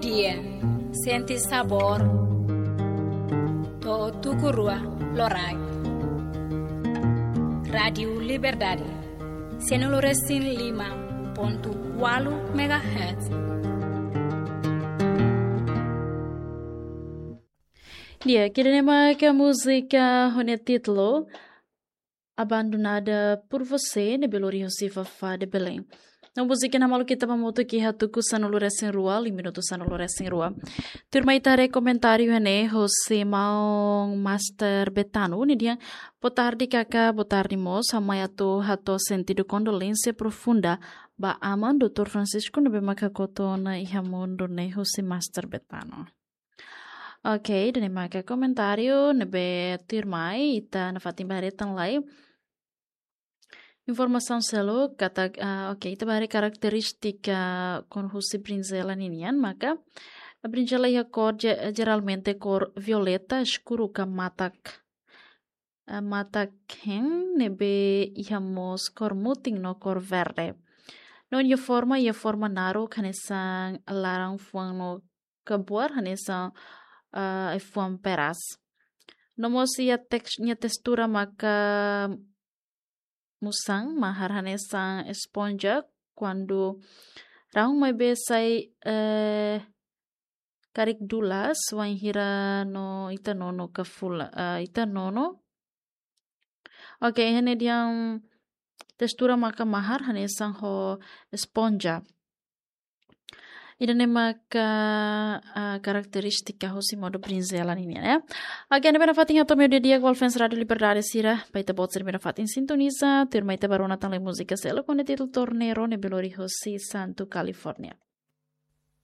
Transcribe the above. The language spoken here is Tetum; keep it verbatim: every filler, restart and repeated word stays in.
Dia, sente sabór. To'o tuku rua loraik. Rádiu Liberdade, sianulu resin lima pontu ualu megahertz. Di'ak, ida-ne'e maka múzika ho nia títulu Abandonada por Você, ne'ebé lori husi Fafá de Belém. No múzika ne'e maluk ita ba hamutuk iha tuku sanulu resin rua, liu minutu sanulu resin rua. Tuirmai ita haree komentáriu iha ne'e husi maun Master Betano, nia dehan: "Boa tarde, Kaka, boa tarde, mós. Ha'u mai atu hato'o sentidu kondolénsia profunda ba aman, doutór Francisco, ne'ebé maka kotu ona iha mundu ne'e", husi Master Betano. Oke, ida-ne'e maka komentáriu ne'ebé tuirmai ita nafatin ba haree tan lai. Informasaun seluk katak, ah, oke, ita ba haree karakterístika kona-ba husi brinzela ninian, maka brinzela iha kór je-, jeralmente kór violeta eskuru ka matak, ah, matak-hein, ne'ebé iha mós kór mutin no kór verde. No nia forma, iha forma naruk hanesan laran-fuan no kabuar hanesan, ah, ai-fuan peras. No mós iha teks-, nia testura maka musan, mahar hanesan esponja, kuandu rahun maibé sai, eh, karik dulas, wainhira no ita nono ka fula, eh, ita nono. Oke, iha ne'e dehan testura maka mahar hanesan ho esponja. Ida-ne'e maka, ah, karakterístika husi modo brinzela ninian, ya. Oke, ne'ebé nafatin hato'o meiudia di'ak ba fans Rádiu Liberdade sira, ba ita-boot sira ne'ebé nafatin sintoniza, tuirmai ita ba rona tan lai múzika seluk ho nia títulu Torneiro, ne'ebé lori husi Santo California.